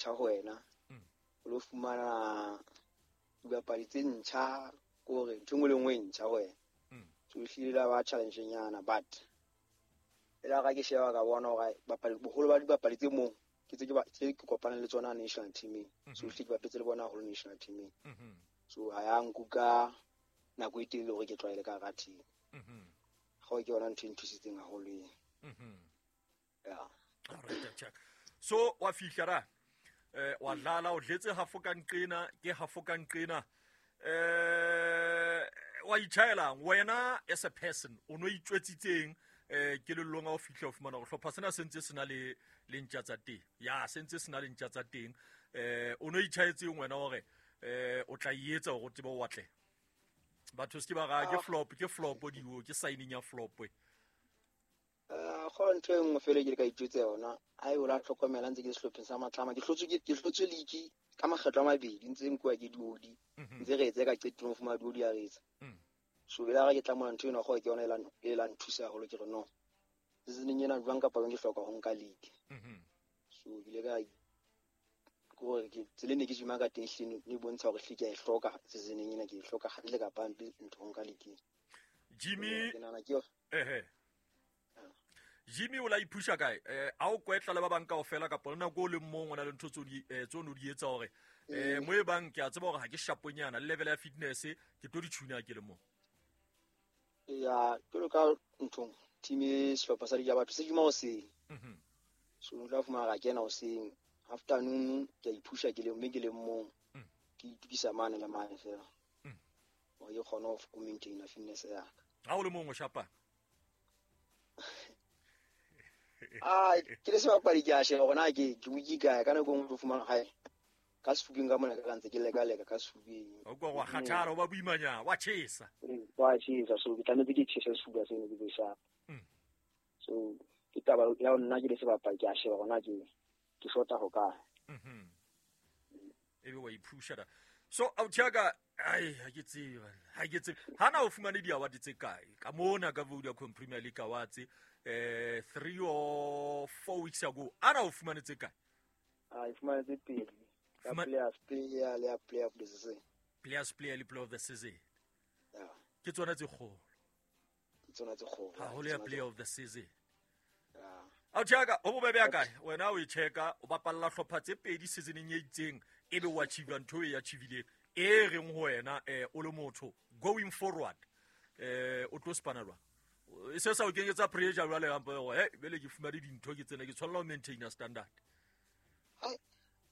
Ntjha ho wena. O lo fumana dibapadi tse ntjha, ke hore ntho e nngwe le nngwe e ntjha ho wena. So ehlile la ba challenge nyana, but e la ka ke sheba ka bona hore bapadi, boholo ba dibapadi tse mong ke tse ke ba tse ke kopanang le tsona national teaming. So ehlile ke bapetse le bona haholo national teaming. So ha ya nkuka nako e telele hore ke tlwaele ka hara team. Gao ke yona ntho e nthusitseng haholo eo. Yeah. Alright, check. So wa fihla ra wa dlala, o dletse hafo ka nqena, ke hafo ka nqena. Wa itjhaelang wena as a person, o no itjwetsitseng kelellong ha o fihla o fumana hore hlopha sena se ntse se na le le ntja tsa teng. Ya, se ntse se na le ntja tsa teng. O no itjhaetseng wena hore o tla e etsa hore o tsebe o atle. Batho se ke ba ra ke flop, ke flop diwo, ke signing ya flop. Go ntho e nngwe fela ke le ka itjwetsa yona, ha e o la tlhokomela ntse ke sehlopheng sa Matlama, ke hlotswe ke hlotswe league ka makgetlo a mabedi, ntse nkuwa ke diodi, ntse re etse ka qetellong fumana diodi ya re etsa. So bela ga ke tla mona ntho ena go ke yona e la nthusa haholo, ke re no seasoneng ena jwang kapa jwang ke hloka ho nka league. So ke ile ka gore ke tsela ne ke jima ka teng hlile ne bontsha hore hlile ke a e hloka seasoneng ena, ke e hloka hantle kapa hampe ntho ho nka league. Jimmy, ke nahana ke yona. Ehe. Jimmy o la iphusha kae? A o kwetla le ba bang kaofela kapa le nako o leng mong o na le ntho tseo di tseo no di etsa hore mo e bang ke a tseba hore ha ke shaponyana le level ya fitness ke tlo di tshuna ke le mong. Ya, ke lo ka nthong team e sehlopha sa dija batho se jima hoseng. So o tla fumana ka kena hoseng afternoon ke a iphusha ke le mme ke le mong. Ke itukisa mane le mane fela. Hore ke kgone ho maintain fitness ya ka. Ha o le mong o shapa? Ah, ke le sebapadi ke a sheba hore na ke weak kae, ka nako e nngwe o tlo fumana hae ka sefubeng ka mona ka ntse ke leka-leka ka sefubeng. O kwa wa kgathala, o ba boimanyana, wa tjhesa. Wa tjhesa, so ke tlametse ke tjhese sefuba seno ke be sharp. So ke taba ya nna ke le sebapadi ke a sheba hore na ke shota ho kae. Ebe wa iphusha da. So Authiaka, ai ha ke tsebe, ha ke tsebe. Hana o fumane di-award tse kae? Ka mona ka Vodacom Premier League Awards, 3 or 4 weeks ago. Ana o fumane tse kae? Ah, e fumane tse pedi. Ka players player le ya player of the season. Players player le player of the season. Yeah. Ke tsona tse kgolo. Ke tsona tse kgolo. Haholo ya player of the season. Yeah. Authiaka, ho bobebe ya kae? Wena o e checka, o bapalla hlopha tse pedi seasoneng e itseng, ebe o achieve ntho e achieve-ileng. E reng ho wena, o le motho going forward, o tlo spana jwang? E se sa o kenyetsa pressure jwale hampe hore, hey, bele ke fumane dintho ke tsena, ke tshwanela ho maintain standard. Hai,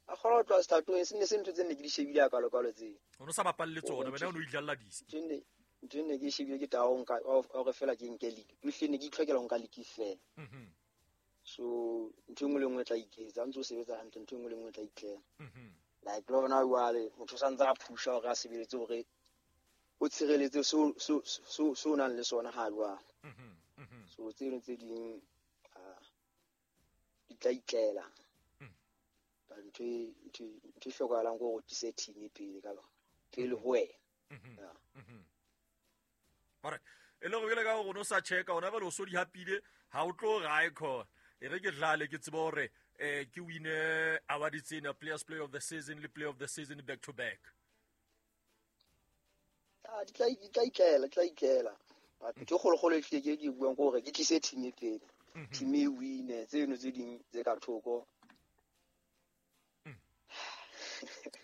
a kgona ho tloha setatong, se ne se ntho tse ne ke di shebile a kalo-kalo tse. O no sa bapalle tsona, wena o no idlalla disi. Ntho e ne ke e shebile ke taba ya ho nka, ya hore fela ke nke league. Ehlile ne ke itlhokela ho nka league fela. So ntho e nngwe le nngwe e tla iketsa, ha ntse o sebetsa hantle, ntho e nngwe le nngwe e tla itlela. Like le hona jwale motho o santse a phusha hore a sebeletse hore o tshireletse seo o nang le sona ha jwale. So tse ding tse ding, di tla itlela. But ntho e hlokahalang ke hore o tlise team pele ka pele ho wena. Yeah. Alright. E le gore jwale ka gore o no sa checka, ona jwale o so di hapile, ha o tlo re icon. E re ke dlale ke tsebe hore, ke wine award tsena, Players Player of the Season le Player of the Season back to back. Ah, di tla, di tla itlela, di tla itlela. But ntho e kgolokgolo e hlile ke buang ke hore ke tlise team e pele. Team e wine, tseno tse ding tse ka thoko.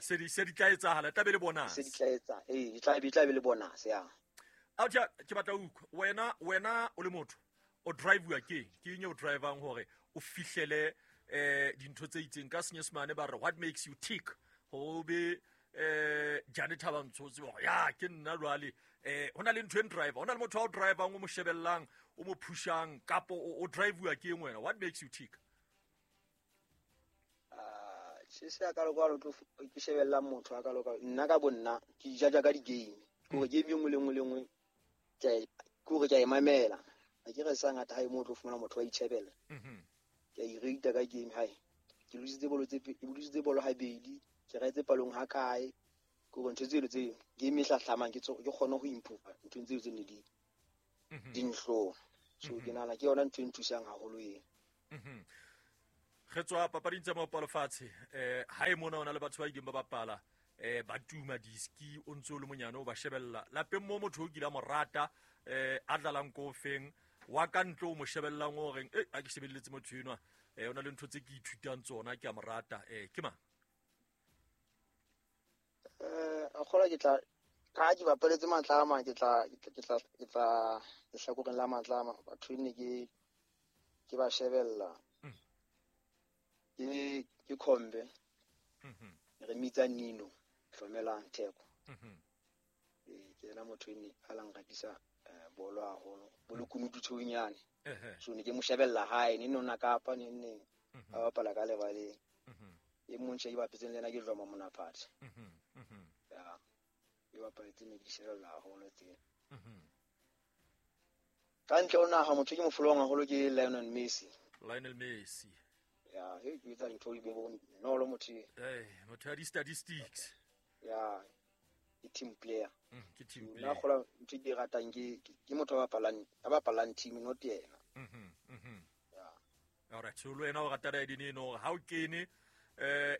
Se di tla etsahala, tla be le bonus. Se di tla etsa, ee, di tla be, tla be le bonus, ya. Authiaka, ke batla ho utlwa, wena o le motho, o drive-wa ke eng? Ke eng e o drivang hore o fihlele, dintho tse itseng? Ka Senyesemane ba re, what makes you tick? Ho be, Jane Thabantsho o tsebe hore, ya, ke nna jwale. Ho na le ntho e driver, ho na le motho a o drivang, o mo shebellang, o mo pushang, kapo o drive-wa ke eng wena? What makes you tick? Se se a ka lokwa tlo ke shebella motho a ka lokwa. Nna ka bonna ke jaja ka di-game. Ke hore game e nngwe le nngwe le nngwe ke hore ke a e mamela. Ha ke re sa ngata ha e mo tlo fumana motho wa itjhebella. Ke a irate ka game hae. Ke lositse bolo tse ke lositse bolo habedi, ke raetse palong ha kae. Ke hore ntho tseno tse game e hlahlamang ke ke kgone ho improve nthong tseo tse ne di di nhlola. So ke nahana ke yona ntho e nthusang haholo eo. Re tswa papading tsa maopalo fatshe. Ha e mona o na le batho ba ileng ba bapala ba tuma diski, o ntse o le monyane o ba shebella lapeng mo, motho o kile a mo rata, a dlalang ko feng wa ka ntle, o mo shebellang o reng e a ke shebelletse motho enwa, o na le ntho tse ke ithutang tsona, ke a mo rata, ke mang? A kgolwa ke tla ka ke bapaletse Matlama, ke tla lehlakoreng la Matlama. Batho ne ke ba shebella ke Khombe, re mitsa Nino Hlomelang Theko. Ke yena motho e ne a lang ratisa bolo haholo, bolekunutu tshonyane. So ne ke mo shebella hae ne nona Kapa ne neng a bapala ka lebaleng. E mong tjhe ke bapetseng le yena ke Dloma Monaphathe. Ya e bapaletse ne ke di shebella haholo tsena. Ka ntle ho naha, motho ke mo folowang haholo ke Lionel Messi. Lionel Messi. Ya, he ke etsa dintho di be bonolo motho e. Motho ya di-statistics. Ya, ke team player. Ke team Nna player. Kgola ntho e ke e ratang ke motho a bapalang team, not yena. Ya. Alright, so le wena o rata daedine eno hore ha o kene,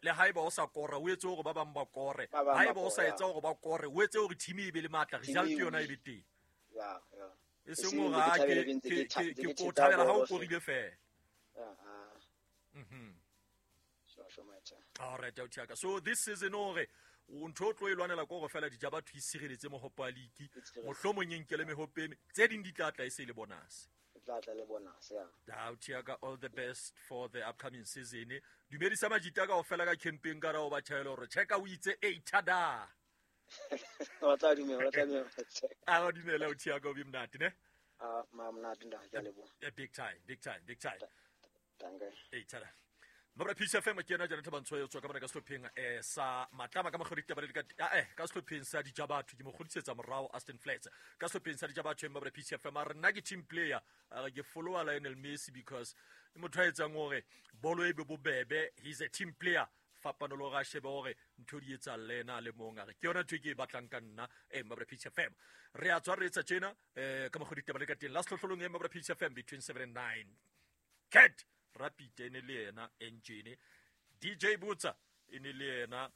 le haeba o sa kora, o etse hore ba bang ba kore. Ba bang ba Haeba o sa kore, etsa hore ba kore, o etse hore team e be le matla, Team result e yona e win. be teng. Ya. E seng Eseng hore ke ha thabele ke ke ntse ke ke ke ntse ke ke o theta thabela ha o bolo korile fela. Ya, ah. Sure, my cha. Alright, auti ya ka. So this season hore o ntho o tlo e lwanela ko gore fela dija batho e sireletse mohopo wa league. E tshireletse. Mohlomong e nkele mehope e tse ding di tla tla e se e le bonus. E tla tla le bonus, ya. Auti ya ka, all the best for the upcoming season. Dumedisa majita ka ofela ka camping ka ra o ba tjhaela hore checka o itse e tada. Ba tla dumela, ba tla dumela. A ba dumela, auti ya ka, o be monate ne. Ah, ma monate nda, ke a leboha. Big time, big time, big time. Danke. Ei tada. Mabra Peace FM, ke yena Jonathan Bantsho yo tswa ka mona ka sehlopheng sa Matlama ka mokgwa ditaba le ka ka sehlopheng sa Dijabatho, ke mo kgodisetsa morao Aston Flats ka sehlopheng sa Dijabatho. Mabra Peace FM a re nna ke team player, a re ke followa Lionel Messi because ke motho a etsang hore bolo e be bobebe. He's a team player, fapano le hore a shebe hore ntho di etsang le ena a le mong, a re ke yona ntho e ke e batlang ka nna. Mabra Peace FM, re a tswa re etsa tjena ka mokgwa ditaba le ka teng la sehlohlolong e Mabra Peace FM between 7 and 9. Cat Rapid e ne le yena engine, DJ Butsa e ne le yena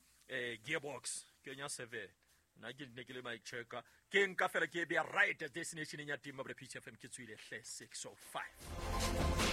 gearbox, kenya 7, nna ke ne ke le mic checker, ke nka fela ke e beya right destination ya teng. Mabra Peace FM, ke tswile hle 605.